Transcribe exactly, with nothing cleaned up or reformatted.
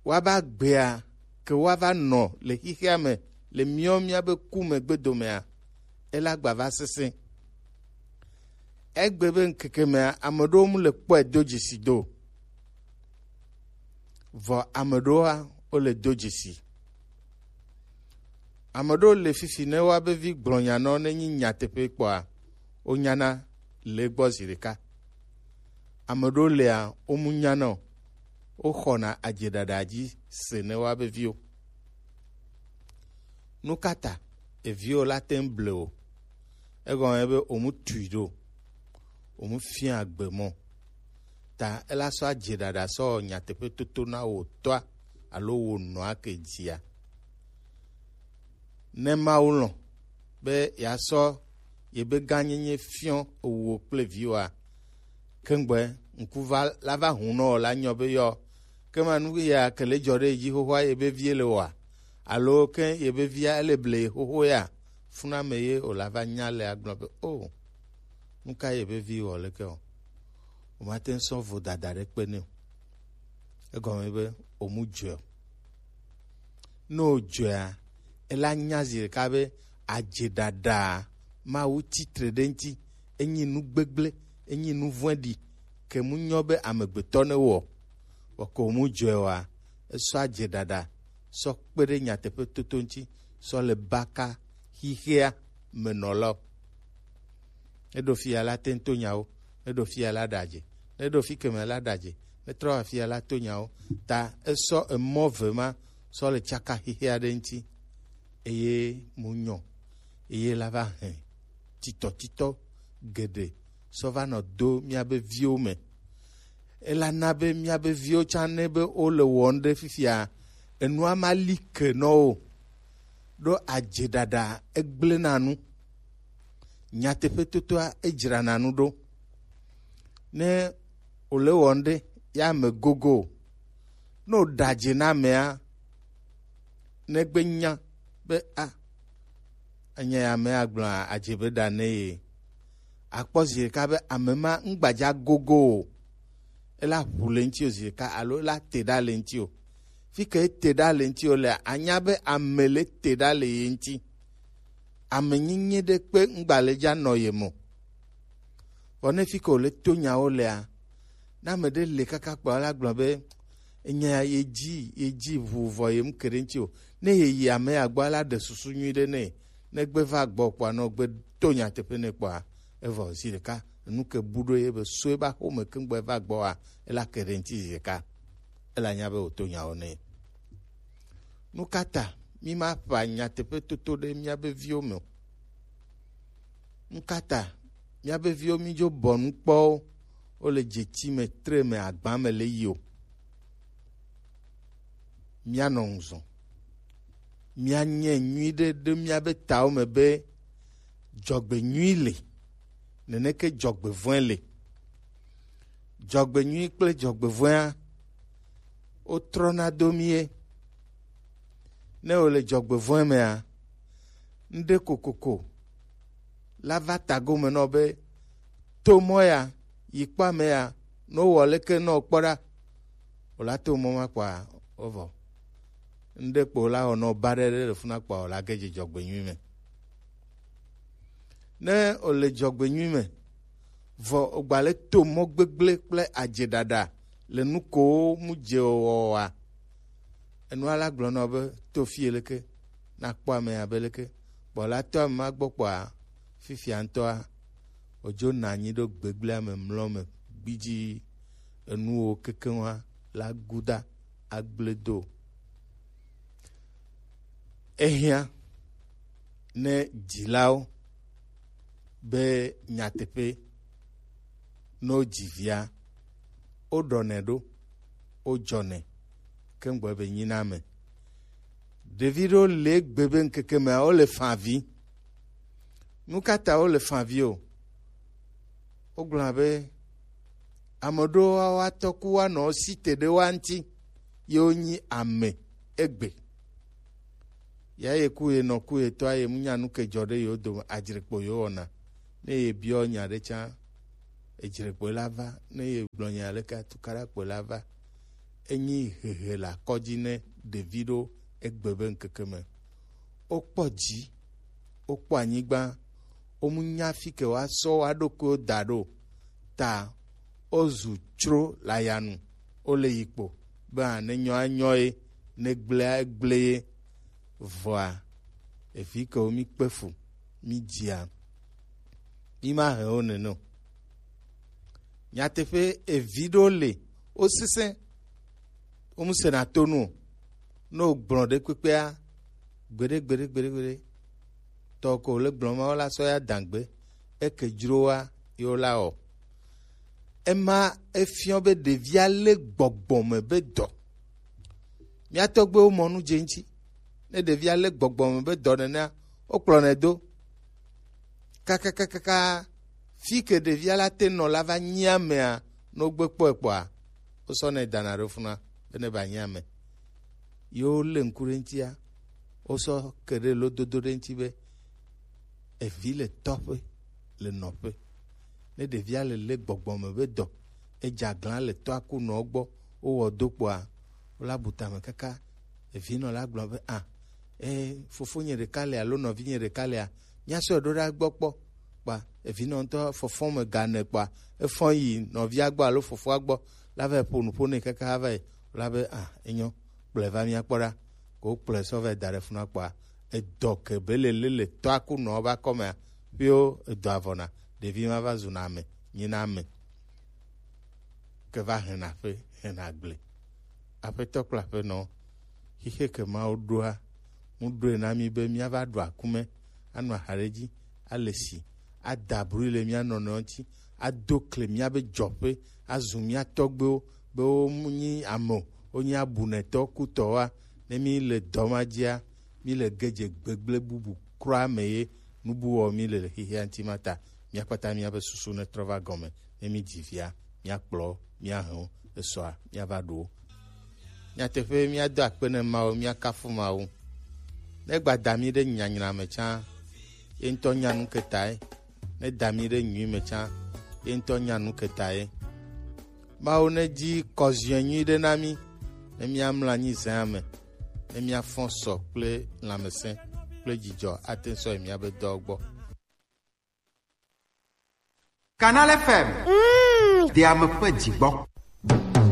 Woava gbea ke woava nɔ le xexea me le míawo míabe ku me gbedomea, ela gba va sesẽ. Egbe be ŋkeke mea, ame ɖewo mu le kpɔe do dzesi do, vɔ ame ɖewoa, wole do dzesi. Ame ɖewo le fifi ne woabe vi gblɔ nya nɔ ne nyi nyateƒe kpɔa, wonyana le egbɔ zi ɖeka. Ame ɖewo lea, womu nyana o, woxɔna adzeɖaɖa dzi se ne woabe viwo. Nu ka ta eviwo la te ŋu ble o? Egɔme be womu tui ɖo, womu fia gbe mɔ. Ta ela sɔ adzeɖaɖa sɔ wɔ nyateƒe toto na wò tɔa alo wò nɔa ke dzia. Ne Mawu lɔ̃ be yeasɔ yebe gãnyenye fiɔ ewuwo kple viwoa, kengbe ŋku va la va hu nɔ la nyɔ be yɔ, ke ma nu ya ke le dzɔ ɖe dzi xoxoa yebe vie le wɔa, alo ke yebe via ele ble xoxo ya, funa me ye o la va nya le agblɔ be o, nu ka yebe vi wɔ leke o, o ma te ŋu sɔ vodada ɖe kpe nɛ o. Egɔme be o mu dzɔe o. Ne wòdzɔea, ela nya zi ɖeka be adzeɖaɖa Mawu tsitre ɖe ŋuti, enyi nu gbegblẽ, enyi nu vɔ̃ɖi, ke mu nyɔ be amegbetɔ ne wɔ. Vɔ ke wòmu dzɔe oa, esɔ adzeɖaɖa sɔ kpe ɖe nyateƒe toto ŋuti, sɔ le baka xixea me nɔlawo. Ne ɖo fi ya la te ŋu to nyawo, ne ɖo fi ya la ɖe adze, ne ɖo fi keme la ɖe adze, ne trɔ afi ya la to nyawo. Ta esɔ emɔ ve ma sɔ le tsaka xixea ɖe ŋuti, eye mu nyɔ, eye la va hɛn titɔtitɔ geɖe sɔ va nɔ do míabe viwo me. Ela na be míabe viwo tsã ne be wole wɔm ɖe fifia, enua ma li ke nɔ wo. Ɖo adzeɖaɖa egblẽna nu. Nyateƒetotoa edzrana nu ɖo. Ne wòle wɔm ɖe ya me gogo o. Ne wòɖe adze na amea, negbe nya be a, enye ya amea gblɔ adze be ɖa ne ye. Akpɔ zi ɖeka be ame ma ŋgbadza gogo o. Ela ʋu le ŋuti o zi ɖeka alo ela te ɖa le ŋuti o. Fi ke ete ɖa le ŋuti o lea, anya be ame le te ɖa le ye ŋuti. Ame nyinyi ɖe kpe ŋgba le dza nɔ ye mo. Vɔ ne fi ke wòle to nyawo lea, ne ame ɖe le kaka kpɔ la gblɔ be enya ye dzi ye dzi ʋu vɔ ye mu ke ɖe ŋuti o. Ne ye yi ame ya gbɔ la ɖe susu nyui ɖe nɛ. Ne gbe va gbɔ kpɔa, nɔ gbe to nyateƒe nɛ kpɔa, evɔ zi ɖeka nu ke bu ɖo ye be so eba xome ke ŋgbɔ eva gbɔa, ela ke ɖe ŋuti zi ɖeka. Ela nya be wòto nyawo nɛ. Nu ka ta mi ma ƒa nyateƒe toto ɖe miabe viwo me o? Nu ka ta miabe viwo mi dzo bɔ nu kpɔwo, wole dzeti me, tre me, agba me le yi o? Mianɔ ŋuzɔ. Mianye nyui ɖe ɖe miabe tawo me be dzɔgbenyui le, neneke dzɔgbevɔ̃e le. Dzɔgbenyui kple dzɔgbevɔ̃ea, wotrɔna do mí ye. Ne wòle dzɔgbevɔ̃e mea, ŋɖe kokoko la va ta gome nɔ be, to mɔ ya, yi kpɔ ame ya, ne wowɔ leke nɔ kpɔ ɖa, wòla to mɔ ma kpɔa, wovɔ. Ŋɖe kpo la wɔ nɔ ba ɖe ɖe le funa kpɔa, wòla ge dze dzɔgbenyui me. Ne wòle dzɔgbenyui me, vɔ wògba le to mɔ gbegblẽ kple adzeɖaɖa le nu kowo mu dze wɔwɔa, enua la gblɔ nɔ be, to fie leke, nakpɔ ame abe leke, kpɔ la to ame ma gbɔ kpɔa, fifia ŋutɔa, wòdzo nɔ anyi ɖo gbegblẽa me mlɔ me gbidzi, enuwo kekeŋua la guda agble do. Ehiã ne dzilawo be nyateƒe, ne wodzi via, woɖɔnɛ ɖo, wodzɔnɛ, ke ŋgbe be nyina me. Ɖevi ɖewo le egbe be ŋkeke mea, wole fã avi. Nu ka ta wole fã avi o? Wogblɔna be ame ɖewo woatɔ ku woanɔ si te ɖe woa ŋuti, ye wonyi ame egbe. Ya ye ku ye nɔ ku ye tɔa ye mu nya nu ke dzɔ ɖe yewo dome, adzre kpo yewo wɔna. Ne ye biɔ nya ɖe tsã, edzre kpo la va. Ne ye gblɔ nya ɖe ka tukaɖa kpo la va. Enyi hehe le akɔdzi ne ɖevi ɖo egbe be ŋkeke me. Wokpɔ dzi, wokpɔ anyigba, womu nya fi ke woasɔ woa ɖokuiwo da ɖo. Ta wozu tsro le ayanu, wole yi kpo be a ne nyɔ anyɔ ye, ne gblea egble ye. Vɔa, evi ke wo mi kpe fu, mi dzia, mi ma he wo nene o. Nyateƒe, evi ɖewo le, wosesẽ, womusena to nu o. Ne wogblɔ ɖe kpekpea, gbeɖe, gbeɖe, gbeɖe, gbeɖe, tɔ ko le gblɔ ma, wola sɔ ya dagbe, eke dzroa, ye wola wɔ. Ema efiɔ be ɖevia lé gbɔgbɔ me be dɔ. Mía tɔgbuiwo mɔ nu dze ŋuti. Ne ɖevia lé gbɔgbɔ me be dɔ nenea, wokplɔnɛ do. Kakakakaka, fi ke ɖevia la te nɔ la va nyi amea, ne wogbe kpɔe kpɔa, wosɔnɛ dana ɖo funa be ne ba nyi ame. Yewo lé ŋku ɖe ŋutia, wosɔ ke ɖe lododo ɖe ŋuti be evi le tɔƒe, le nɔƒe. Ne ɖevia le lé gbɔgbɔ me be dɔ, edze aglã le tɔa ku nɔ gbɔ, wowɔ do kpɔa, wola bu tame kaka. Evinɔ la gblɔ be, a, e, fofonye ɖeka le alo nɔvinye ɖeka lea, míasɔe ɖo ɖa gbɔ kpɔ. Kpa evinɔ ŋutɔ fɔfɔ me gane kpa efɔ yi nɔvia gbɔ alo fofoa gbɔ la va ƒo nu ƒo nɛ kaka va yi la be, a, enyo, kplɔe va míakpɔ ɖa. Ko kplɔe sɔ va yi da ɖe funa kpɔa, edɔ ke be le le le tɔa ku nɔ va kɔmea, ƒio edɔ avɔna, ɖevi ma va zuna ame, nyina ame. Ke va hena ƒe, hena gble. Aƒetɔ kple aƒenɔ, xixe ke Mawu ɖoa, mu ɖoe na mí be míava ɖu akume, anɔ ahaɖedzi, ale si, ada brui le mía nɔnɔewo ŋuti, ado kle míabe dzɔƒe, azu mía tɔgbuiwo be wonyi ame o, wonyi abunɛtɔ kutɔwoa, ne mí le dɔ ma dzia, mí le gedze gbegblẽ bubu kura me ye nubuwɔ mí le le xexea ŋuti ma ta. Míakpata míabe susu netrɔ va gɔme, ne mí dzi via, míakplɔ, míahe wo, esɔa, míava ɖu wo. Nyateƒe, míado akpe ne Mawu, míakafu Mawu. Ne gba da mí ɖe nyanyra me tsã, ye ŋutɔ nya nu ke tae. Ne da mí ɖe nyui me tsã, ye ŋutɔ nya nu ke tae. Mawu nedzi kɔziɔe nyui ɖe na mí, ne míamlɔ anyi zẽa me, ne míafɔ sɔ kple lãmesẽ kple dzidzɔ ate ŋu sɔ yi míabe dɔwo gbɔ. Canal F M. Mm. Ɖe ame ƒe dzi gbɔ.